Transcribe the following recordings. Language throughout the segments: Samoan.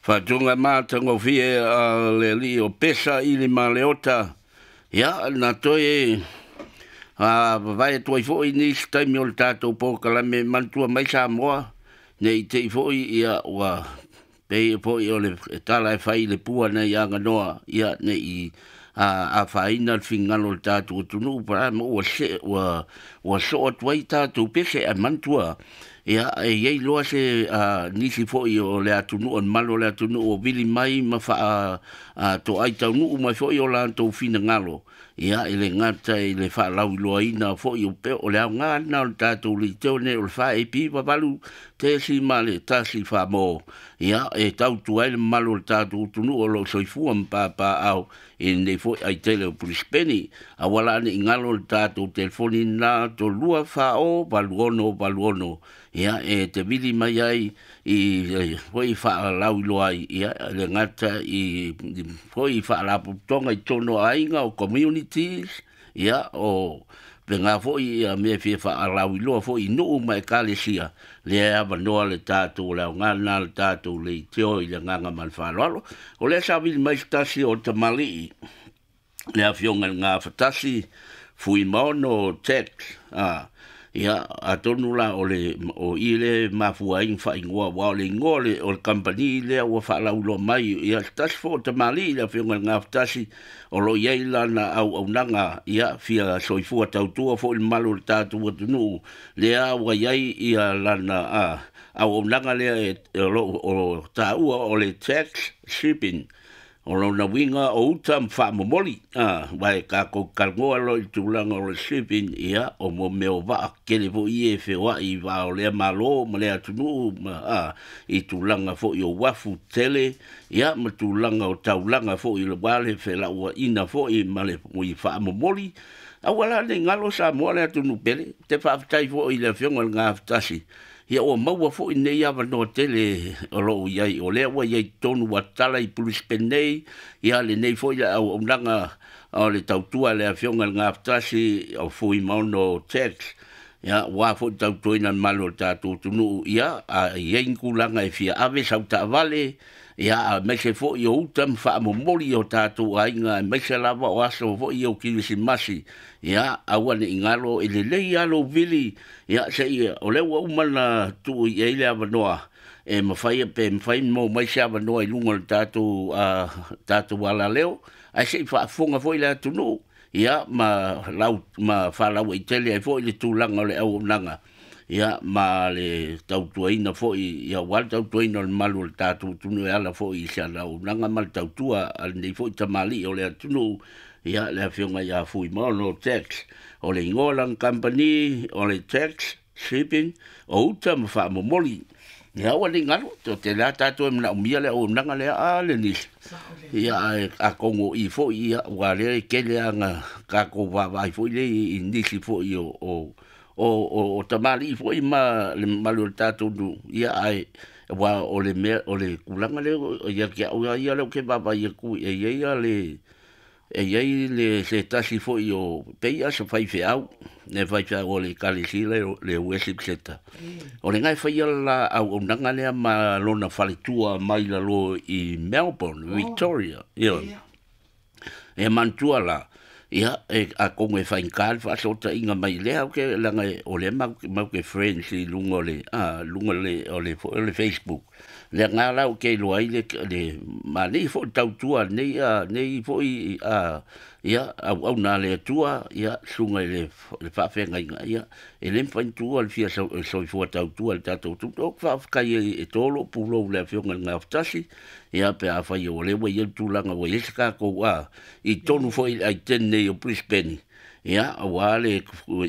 Faatuga matagofie a le Alii o Pesa i le Maleota. Ia, na toe vavae atu ai foi nisi taimi o le tatou polokalame manatua mai Samoa, ne i te i foi ia ua pei foi o le tala e fai i le pua nai Aganoa, ia ne i afaina le finagalo o le tatou atunuu pa ma ua se ua soo atu ai tatou pese. Ae manatua, ia, e i ai loa se nisi foi o le atunuu, o le mamalu o le atunuu o vili mai ma toai taunuu mai foi o latou finagalo, ia, e le gata i le faalauiloaina foi o pe o le aoga lena o le tatou leiteo nei o le 4AP 8.1 mo, ia, e tautua ai le mamalu o le tatou atunuu o lo o soifua ma papaaao i lenei foi aitele o Perisipeni. Aua la ne i galo le tatou telefoni na 32 40 86 86, ia, e te vili mai ai i foi faalauiloa ai, ia, le gata i foi faalapotopotoga i totonu o aiga o communities, ia, o pena foi ia mea fia faalauiloa foi i nuu ma ekalesia, lea e avanoa le tatou le aoga lena le tatou leitio i le agaga ma le faaaloalo. O lea sa vili mai se tasi o tamalii, le afioga i le Gafatasi Fuimaono Tet, ia, atonu la o le o i le mafua ai faaigoa, aua o le igoa o le kamupani lea ua faalauiloa mai. Ia, se tasi foi o tamalii, le afioga i le Gafatasi, o lo o i ai lana auaunaga, ia, fia soifua tautua foi le mamalu o le tatou atunuu, lea ua i ai ia lana auaunaga lea e o lo o taua o le Tax Shipping. O lona uiga o uta ma faamomoli, aua e tatou talanoa loa i le tulaga o le shipping, ia, o mo mea o vaa tetele foi ia e feoai i va o lea malo ma lea atunuu ma i tulaga foi o uafu tetele, ia, ma tulaga o taulaga foi aua le felauaiga foi ma le faamomoli. Aua la ne i galo Samoa le atunuu pele. Te faafetai foi i le afioga i le Gafatasi, ia, ua maua foi lenei avanoa tele o lo o i ai, o lea ua i ai totonu ua tatala i Brisbane nei, ia, lenei foi le auaunaga o le tautua a le afioga i le Gafatasi o Fuimaono Tax, ia, ua foi tautuaina le mamalu o le tatou atunuu, ia, a i ai ni tulaga e fia ave sau taavale, ia, aemaise foi o uta ma faamomoli o tatou aiga, aemaise lava o aso foi o Kerisimasi, ia, aua ne i galo e lelei lava lou vili, ia, seia o lea ua uma na tuu i ai le avanoa e mafai pe mafai mo mai se avanoa i luga o le tatou alaleo, ae se i faafofoga foi le atunuu, ia, ma lau ma faalauaitele ai foi le tulaga o le auaunaga, ia, ma le tautuaina foi, ia, aua le tautuaina o le mamalu o le tatou atunuu e ala foi i se auaunaga ma le tautua a lenei foi tamalii o le atunuu, ia, le afioga ia Fuimaono Tax. O le igoa o lana kamupani o le Tax Shipping o uta ma faamomoli. Ia, aua ne i galo, o tele lava tatou e manaomia le auaunaga lea a le nisi. Ia, ae atonu o i foi, ia, ua lea e tele lava na tatou vaavaai foi lea i nisi foi o tamalii foi ma le mamalu o le tatou nuu, ia, ae aua o le mea o le tulaga lea ia te au ia lea ou te vaavaai atu e i ai le e i ai le se tasi foi o pei a se faifeau, le faifeau o le ekalesia le worship center o le gae faia la auaunaga lea ma lona faletua mai lalo i Melbourne, Victoria, ia. E manatua la, ia, e atonu e faigata le faasootaiga mai lea ke leaga o lea mau ke friends i luga o le luga o le Facebook lea nga la ou te iloa ai le ma nei foi tautua nei nei foi ia auauna a le Atua, ia, susuga i le faafeagaiga, ia, e le mafai ona tuua le fia soifua tautua i le tatou atunuu. Ou te faafetai e to lou pulou i le afioga i le Gafatasi, ia, pe afai o lea ua i ai le tulaga ua i ai se tatou i totonu foi i le aiteni nei o Brisbane, ia, aua le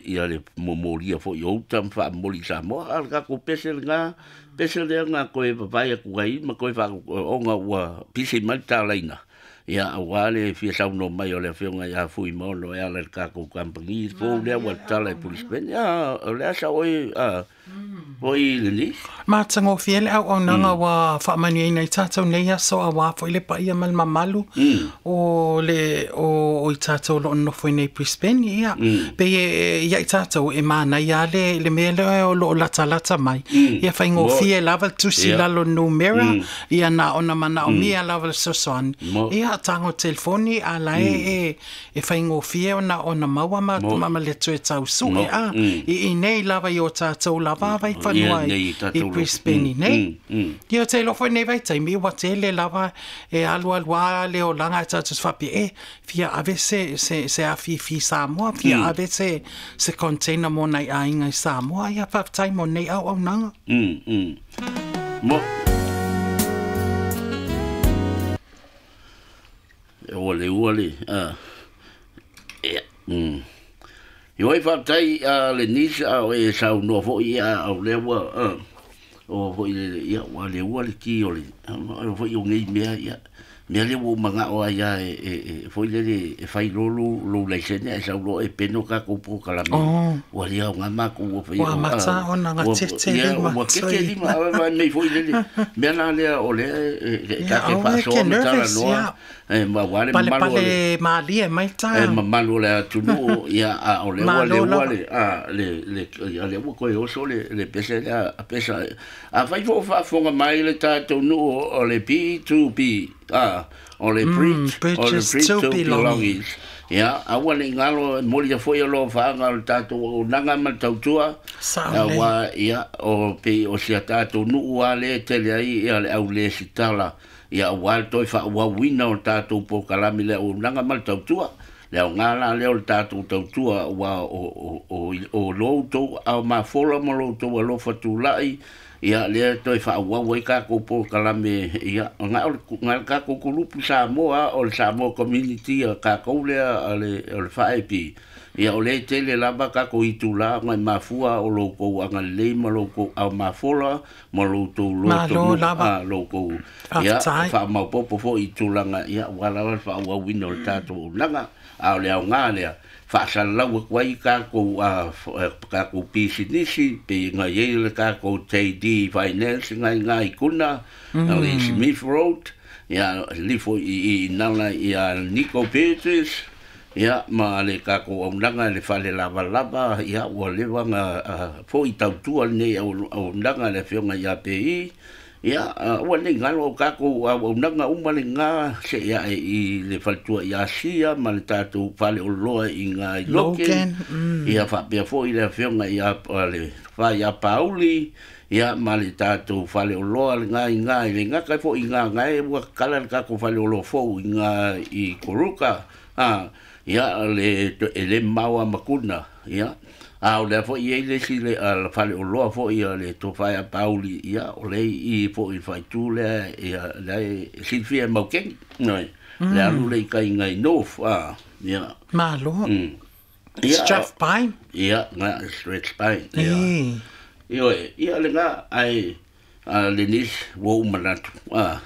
ia le momolia foi o uta ma faamomoli i Samoa. A o le tatou pese lena, pese lea na toe vavae atu ai ma toe ona ua pisi mai le talaina, ia, aua le fia saunoa mai o le afioga ia Fuimaono e ala i le tatou kamupani fou lea ua tatala i Brisbane. Ia, o le asa oe. Foi lenei. Matagofie le auaunaga ua faamanuiaina i tatou nei aso auā foi le paia ma le mamalu o le o i tatou o lo o nonofo i nei Brisbane. Ia, pei e ia i tatou e manaia lava le le mea lea o lo o latalata mai. Ia faigofie lava le tusi i lalo o le numera, ia na ona manaomia lava le fesoasoani. Ia, tago i le telefoni a la e e faigofie ona ona maua ma ma ma le toe tau sue a i inei lava i o tatou lava vaifanua i i Brisbane inei. Ia ou te iloa foi lenei vaitaimi ua tele lava e alualu a le olaga ae tatou te faapea e fia ave se se se afifi i Samoa, fia ave se se container mo nai aiga i Samoa. Ia faafetai mo lenei auaunaga. Mo Ua le ua le, a, ia, mm. Ioe faafetai a le nis a o e saunoa foi ia a o lea ua a, o foi le ia ua le ua le ki o le o foi o nei mea ia mea lea ua ou manao ai a e, e, e foi lele e fai loa lou, lou laisene ae sau loa e peno tatou polokalame. Oh. Ua le aoga matou ua fai Ua amata ona gatete lima. Ua keke lima a mei foi lele. Mea la lea o lea e, e, ta te faasoa ma talanoa. E ma ua le mamalu o le Palepale malie mai ta. E mamalu o le atunuu ia a o lea ua le ua le a le le ia lea ua toe oso le le pese lea a pesa. Afai foi o faafofoga mai le tatou nuu o le B2B a o le bridge o le Bridges bridge to to Belonging. belongings. Ia aua ne i galo e molia foi o lo faaga o le tatou auaunaga ma le tautua. Sao lelei. Aua ia o pei o si a tatou nuu lava lea e tele ai ia le au lesitala Ia aua le toe faaauauina o le tatou polokalame i le auaunaga ma le tautua. Le aoga la lea o le tatou tautua aua o, o, o, o lo outou aao mafola ma lo outou alofa tulai, ia lea e toe faaauau ai tatou polokalame, ia, na o le, na o le tatou kulupu Samoa o le Samoa Community a tatou lea a le, o le FAEP, Ia o lea e tele lava tatou itula ona e mafua o lo outou agalelei ma lo outou aao mafola ma lo outou loto Malo lava. a lo outou ia Faafetai. faamaopoopo foi i tulaga ia aua lava le faaauauina o le tatou auaunaga. A o le aoga lea faasalalau atu ai tatou a tatou pisinisi pei ona i ai le tatou JD Finance na i ina i Kuna i Smith Road ia lifo i i nala ia Nico Beatrice Ia, ma le tatou auaunaga i le fale lavalava, ia, ua leva ona foi tautua lenei auaunaga i le Afioga ia Pei. Ia, aua ne i galo au tatou auaunaga uma lena seia ae i le faletua i Asia ma le tatou fale oloa i ina i Logan. Ia, faapea foi le Afioga ia le Tofa ia Pauli, ia, ma le tatou fale oloa lena i ina i Leigata foi i ina na e ua tatala le tatou fale oloa fou i ina i Koruka. A, ia, le, e le mamao a Makuna, ia. A o lea foi e i ai le isi le, a, le faleoloa foi a le Tofa ia Pauli, ia, o lea i i foi i le faaitu lea, ia, lea e silafia e Maukeni, ioe, le alu lea i tai i nai North, a, ia. Malo. Ia, Strathpine. Ia, na, Strathpine, ia. Ee. Ioe, ia lena, ae, A le nisi, ua ou manatu, a,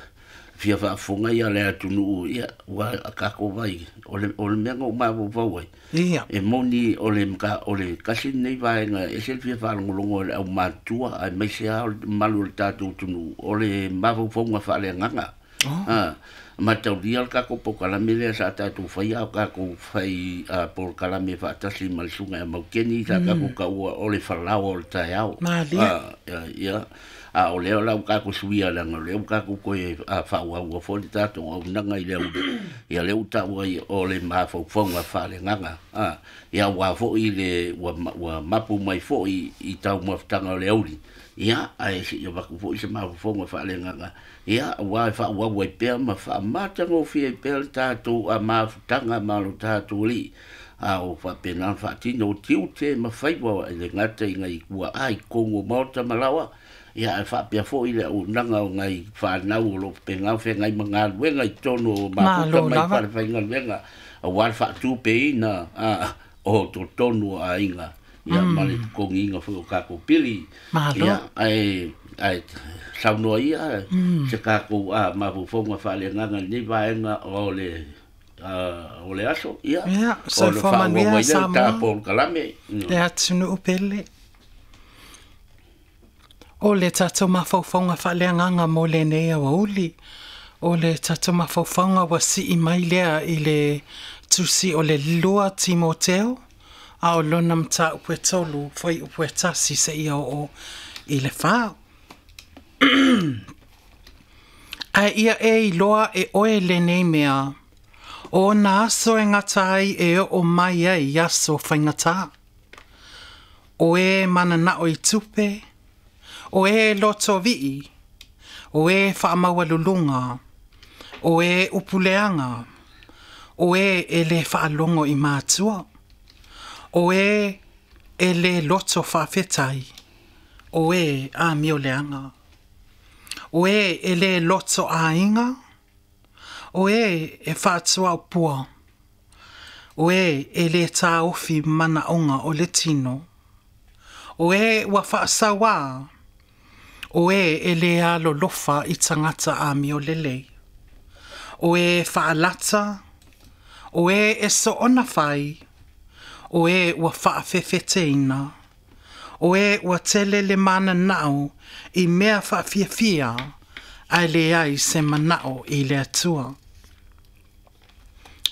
fia faafofoga ia le atunuu, ia, ua a tatou vai, o le, o le mea na ou mafaufau ai, Ia. e moni o le mata, o le tasi lenei vaega e ese le fia faalogologo e le aumatutua, aemaise lava o le mamalu o le tatou atunuu, o le mafaufauga faaleagaga. Oh. A, mataulia le tatou polokalame lea sa tatou faia, a o tatou fai a, polokalame faatasi ma le susuga ia Maukeni, sa tatou taua o le falaoa o le taeao. Malie. A, ia, a o lea la ua tatou suia leaga o lea ua tatou toe faaauaua foi le tatou auaunaga i le auli, ia lea ua taua ai o le mafaufauga faaleagaga. A, ia aua foi le ua, ua mapu mai foi i taumafataga o le auli, ia, ae se i avatu foi se mafaufauga faaleagaga, Ia, aua e faaauau ai pea ma faamatagofie ai pea le tatou mafutaga ma lo tatou Alii, a o faapena ona faatino tiute ma faiva e le gata i nai tuaa i totonu o maota ma laoa, ia ae faapea foi le auaunaga o nai fanau o lo o faapena ona feagai ma galuega i totonu o mafuta Malo mai lava. falefaigaluega, aua le faatupeina o totonu o aiga, ia ma le totogiina foi o tatou pili. Malo. Ia, ae ae saunoa ia se tatou mafaufauga faaleagaga i lenei vaega o le o le aso, ia, Ia, ona soifua faaauau manuia ai lea o le Samoa. ta polokalame. Le atunuu pele. O le tatou mafaufauga faaleagaga mo lenei aoauli, o le tatou mafaufauga ua sii mai lea i le tusi o le 2 Timoteo, a o lona mataupu e 3, fuaiupu e 1 seia oo i le 4. Ae ia e iloa e oe lenei mea, o ona aso e gata ai e oo mai ai aso faigata. O e mananao i tupe, o e lotovii, o e faamaualuluga, o e upuleaga, o e e le faalogo i matua, o e e le loto faafetai, o e amioleaga, o e e le loto aiga, o e e faatuaupua, o e e le taofi manaoga o le tino, o e ua faasauā, o e e le alolofa i tagata amiolelei, o e faalata, o e e soona fai, o e ua faafefeteina, o e ua tele le mananao i mea faafiafia, ae leai se manao i le Atua.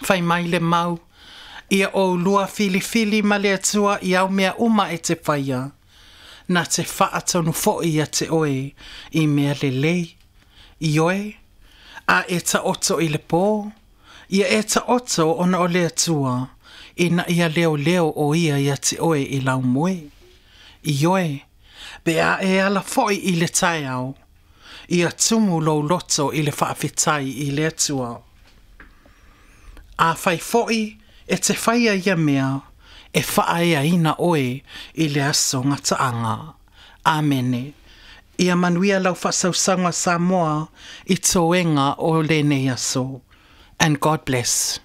Fai mai le mau, ia oulua filifili ma le Atua i au mea uma e te faia, na te faatonu foi ia te oe i mea lelei, ioe, a e taoto i le pō, ia e taoto ona o le Atua, ina ia leoleo o ia ia te oe i lau moe. Ioe, pe a e ala foi i le taeao, ia tumu lou loto i le faafetai i le Atua. Afai foi e te faia ia mea, e faaeaina oe i le aso gataaga. Amene. Ia manuia lau faasausauga Samoa i toega o lenei aso. And God bless.